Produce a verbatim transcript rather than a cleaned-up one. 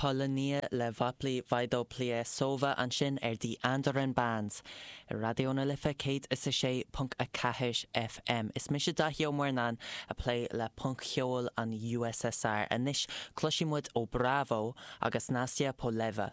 Polonia le Vopli Vaidopliasova ansin ar The Andoran Bands. Raidió na Life céad is a sé ponc a ceathair FM. Is mise Daithí Ó Murnáin ag plé le punc-cheol an USSR. Anois cloisfidh muid ó Bravo agus Nastia Poleva.